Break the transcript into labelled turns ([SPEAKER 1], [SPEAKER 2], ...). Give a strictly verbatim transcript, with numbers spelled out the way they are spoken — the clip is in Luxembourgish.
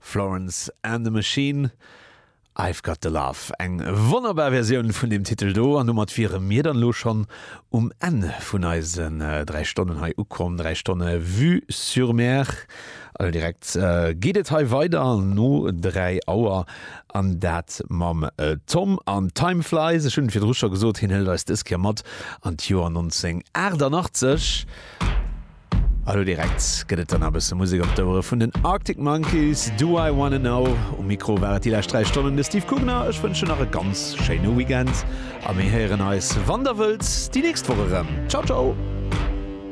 [SPEAKER 1] Florence and the Machine. I've Got the Love, eng wonnerbar Versioun vun deem Titel do an domat wiere mir dann elo schonn um Enn vun eisen dräi Stonnen hei ukomm, dräi Stonne Vue sur Mer. Also direkt geet et hei weider no dräi Auer an dat mam Tom an Time Flies. Ech hunn et virdru scho gesot, hien hëlt eis dës Kéier mat an d'Joer nonzénghunnertachtannachtzeg. A lo direkt gëtt et dann nach e bësse Musek op d'Ouere vun den Arctic Monkeys, Do I Wanna Know. Um Mikro war et déi lescht dräi Stonnen de Steve Kugner. Ech wënschen nach e ganz schéine Weekend a mir héieren eis, wann der wëllt, déi nächst Woch erëm. Ciao, ciao!